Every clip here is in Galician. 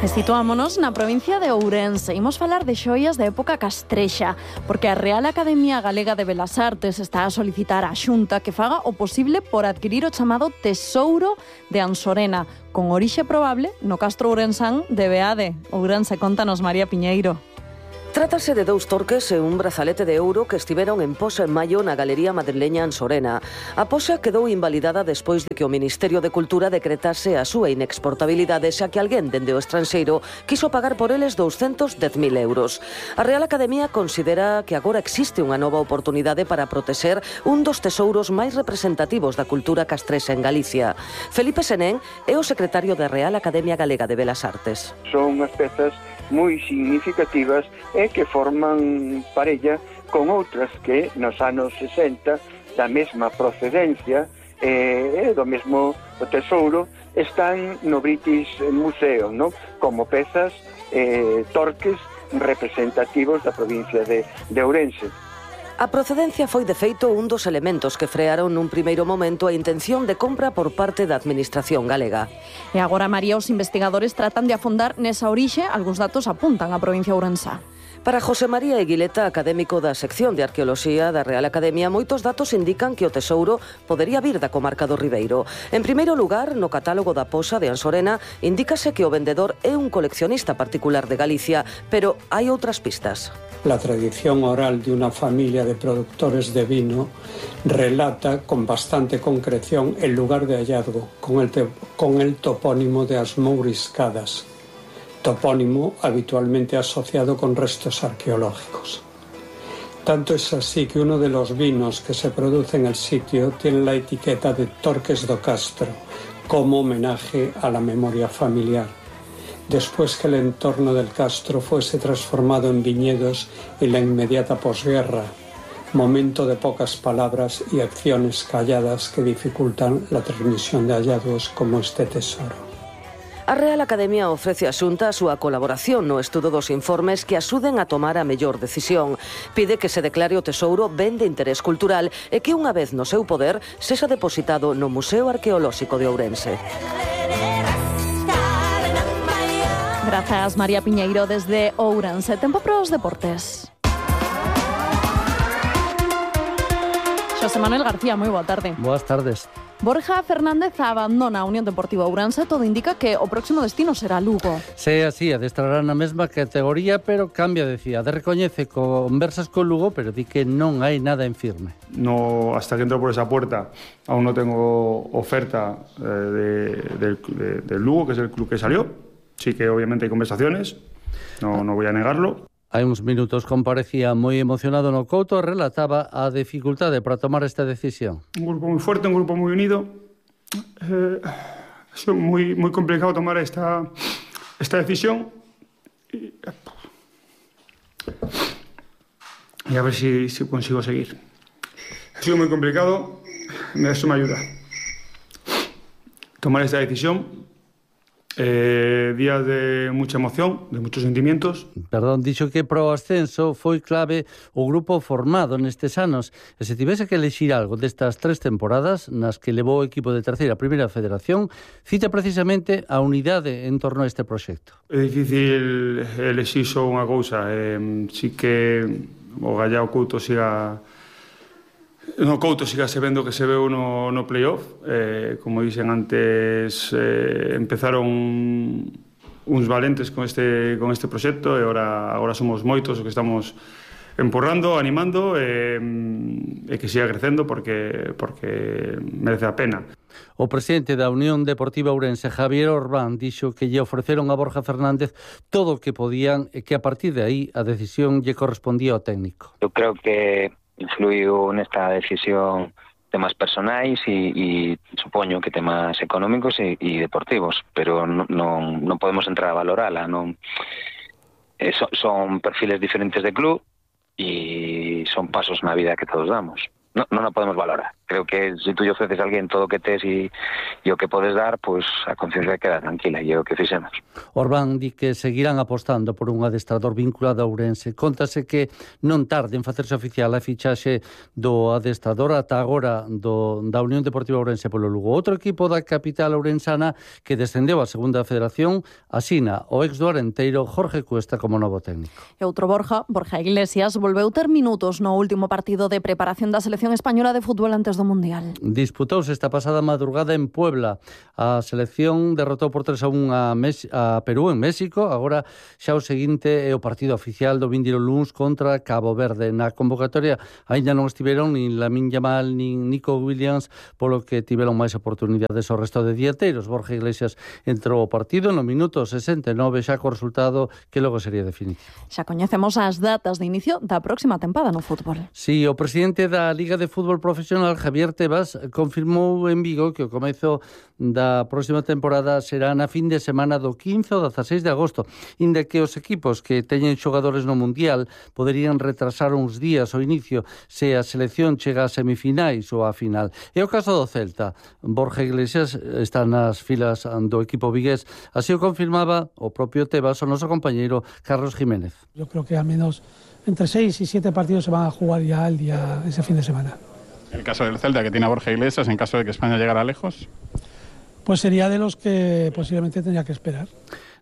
E situámonos na provincia de Ourense. Imos falar de xoias de época castrexa, porque a Real Academia Galega de Belas Artes está a solicitar á Xunta que faga o posible por adquirir o chamado Tesouro de Ansorena, con orixe probable no castro ourensán de Beade. Ourense, contanos, María Piñeiro. Trátase de 2 torques e un brazalete de ouro que estiveron en posa en maio na Galería Madrileña Ansorena. A posa quedou invalidada despois de que o Ministerio de Cultura decretase a súa inexportabilidade xa que alguén dende o estranxeiro quiso pagar por eles 210.000 euros. A Real Academia considera que agora existe unha nova oportunidade para protexer un dos tesouros máis representativos da cultura castrexa en Galicia. Felipe Senén é o secretario da Real Academia Galega de Belas Artes. Son unhas pezas moi significativas e que forman parella con outras que nos anos 60 da mesma procedencia e do mesmo tesouro están no British Museum, ¿no? Como pezas torques representativos da provincia de Ourense. A procedencia foi de feito un dos elementos que frearon nun primeiro momento a intención de compra por parte da Administración galega. E agora, María, os investigadores tratan de afondar nesa orixe. Algúns datos apuntan a provincia ourensá. Para José María Eguileta, académico da sección de Arqueoloxía da Real Academia, moitos datos indican que o tesouro podería vir da comarca do Ribeiro. En primeiro lugar, no catálogo da posa de Ansorena, indícase que o vendedor é un coleccionista particular de Galicia, pero hai outras pistas. La tradición oral de una familia de productores de vino relata con bastante concreción el lugar de hallazgo, con el topónimo de As Mouriscadas, topónimo habitualmente asociado con restos arqueológicos. Tanto es así que uno de los vinos que se produce en el sitio tiene la etiqueta de Torques do Castro, como homenaje a la memoria familiar, después que el entorno del castro fuese transformado en viñedos en la inmediata posguerra, momento de pocas palabras y acciones calladas que dificultan la transmisión de hallazgos como este tesoro. A Real Academia ofrece á Xunta a súa colaboración no estudo dos informes que axuden a tomar a mellor decisión. Pide que se declare o tesouro ben de interés cultural e que unha vez no seu poder sexa depositado no Museo Arqueolóxico de Ourense. Grazas, María Piñeiro, desde Ourense. Tempo para os deportes. Xosé Manuel García, moi boa tarde. Boas tardes. Borja Fernández abandona a Unión Deportiva Ourense. Todo indica que o próximo destino será Lugo. Se así, adestrará na mesma categoría, pero cambia de cidade. Recoñece conversas con Lugo, pero di que non hai nada en firme. No, hasta que entro por esa puerta, aún no tengo oferta del Lugo, que es el club que salió. Sí que obviamente hay conversaciones, no voy a negarlo. Hai uns minutos comparecía moi emocionado no Couto e relataba a dificultade para tomar esta decisión. Un grupo moi forte, un grupo moi unido. Ha sido moi complicado tomar esta decisión. Y a ver si consigo seguir. Ha sido moi complicado, eso me ayuda. Tomar esta decisión. Días de mucha emoción, de muchos sentimientos. Perdón, dixo que pro ascenso foi clave o grupo formado nestes anos. E se tivese que elexir algo destas 3 temporadas nas que levou o equipo de terceira a primeira federación, cita precisamente a unidade en torno a este proxecto. É difícil elexir só unha cousa. Si que o Gallao Couto siga... No Couto sigase vendo que se veu no playoff. Como dixen antes, empezaron uns valentes con este proxecto e agora somos moitos os que estamos empurrando, animando e que siga crecendo porque merece a pena. O presidente da Unión Deportiva Ourense, Javier Orbán, dixo que lle ofreceron a Borja Fernández todo o que podían e que a partir de aí a decisión lle correspondía ao técnico. Eu creo que influiu nesta decisión temas personais e supoño que temas económicos e deportivos, pero non podemos entrar a valorala. Son perfiles diferentes de club e son pasos na vida que todos damos. Non a podemos valorar. creo que se tú lle ofreces a alguén todo o que tes e o que podes dar, pois a conciencia queda tranquila, e é o que fixemos. Orbán di que seguirán apostando por un adestrador vinculado a Ourense. Contase que non tarde en facerse oficial a fichaxe do adestrador ata agora da Unión Deportiva Ourense polo Lugo. Outro equipo da capital ourensana que descendeu a segunda federación asina o ex do Arenteiro Jorge Cuesta como novo técnico. E outro Borja Iglesias, volveu ter minutos no último partido de preparación da selección española de fútbol antes do Mundial. Disputouse esta pasada madrugada en Puebla. A selección derrotou por 3-1 a Perú en México. Agora xa o seguinte é o partido oficial do vindeiro luns contra Cabo Verde. Na convocatoria aínda non estiveron nin Lamine Yamal nin Nico Williams, polo que tiveron máis oportunidades o resto de dieteiros. Borja Iglesias entrou ao partido no minuto 69 xa co resultado que logo sería definitivo. Xa coñecemos as datas de inicio da próxima tempada no fútbol. Si, o presidente da Liga de Fútbol Profesional, Javier Tebas, confirmou en Vigo que o comezo da próxima temporada será na fin de semana do 15 ao 16 de agosto, inda que os equipos que teñen xogadores no Mundial poderían retrasar uns días o inicio se a selección chega a semifinais ou a final. E o caso do Celta, Borja Iglesias está nas filas do equipo vigués, así o confirmaba o propio Tebas o noso compañeiro Carlos Jiménez. Yo creo que al menos entre 6 y 7 partidos se van a jugar ya ese fin de semana. El caso del Celta, que tiene a Borja Iglesias, en caso de que España llegara lejos, pues sería de los que posiblemente tendría que esperar.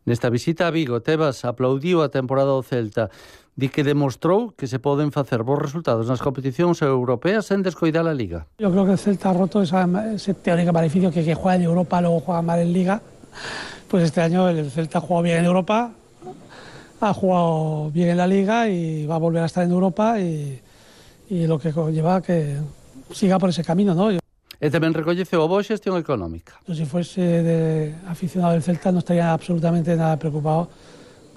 Nesta visita a Vigo, Tebas aplaudiu a temporada do Celta. Di que demostrou que se poden facer bons resultados nas competicións europeas sen descoidar a Liga. Yo creo que el Celta ha roto ese teórico maleficio que juega en Europa luego juega mal en Liga. Pues este año el Celta ha jugado bien en Europa, ha jugado bien en la Liga y va a volver a estar en Europa y lo que conlleva que siga por ese camino, ¿no? E tamén recoñeceu a boa xestión económica. Yo, si fuese aficionado del Celta no estaría absolutamente nada preocupado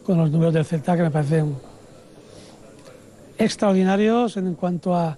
con los números del Celta, que me parecen extraordinarios en cuanto a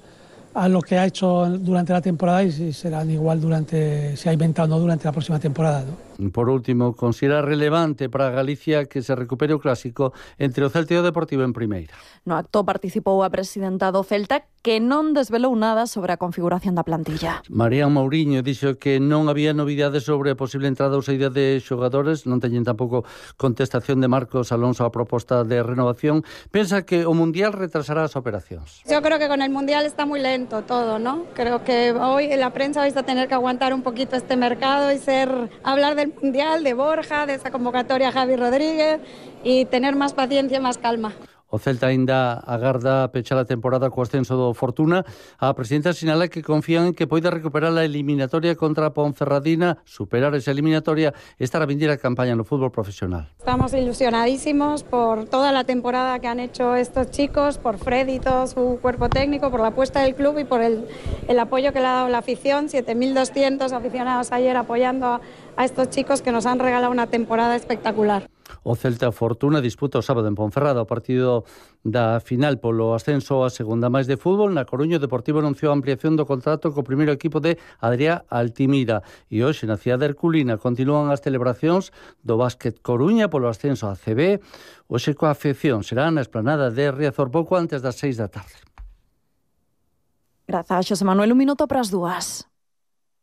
lo que ha hecho durante la temporada y si serán igual si ha inventado o no durante la próxima temporada, ¿no? Por último, considera relevante para Galicia que se recupere o clásico entre o Celta e o Deportivo en primeira. No acto participou a presidenta do Celta, que non desvelou nada sobre a configuración da plantilla. María Mouriño dixo que non había novidades sobre a posible entrada ou saída de xogadores, non teñen tampouco contestación de Marcos Alonso a proposta de renovación. Pensa que o Mundial retrasará as operacións. Yo creo que con el Mundial está muy lento todo, ¿no? Creo que hoy la prensa vais a tener que aguantar un poquito este mercado y hablar del Mundial, de Borja, de esa convocatoria a Javi Rodríguez y tener más paciencia, más calma. O Celta aínda agarda pechar a temporada co ascenso do Fortuna. A presidenta sinala que confían en que poida recuperar a eliminatoria contra a Ponferradina, superar esa eliminatoria e estar a vindir a campaña no fútbol profesional. Estamos ilusionadísimos por toda la temporada que han hecho estos chicos, por Freddy y todo su cuerpo técnico, por la apuesta del club y por el apoyo que le ha dado la afición. 7.200 aficionados ayer apoyando a estos chicos que nos han regalado una temporada espectacular. O Celta Fortuna disputa o sábado en Ponferrada o partido da final polo ascenso a segunda máis de fútbol. Na Coruña, o Deportivo anunciou a ampliación do contrato co primeiro equipo de Adrià Altimira. E hoxe, na cidade de Herculina, continúan as celebracións do Básquet Coruña polo ascenso a CB. Hoxe coa afección será na esplanada de Riazor pouco antes das 6 da tarde. Grazas, Xosé Manuel, 1 minuto para as 2.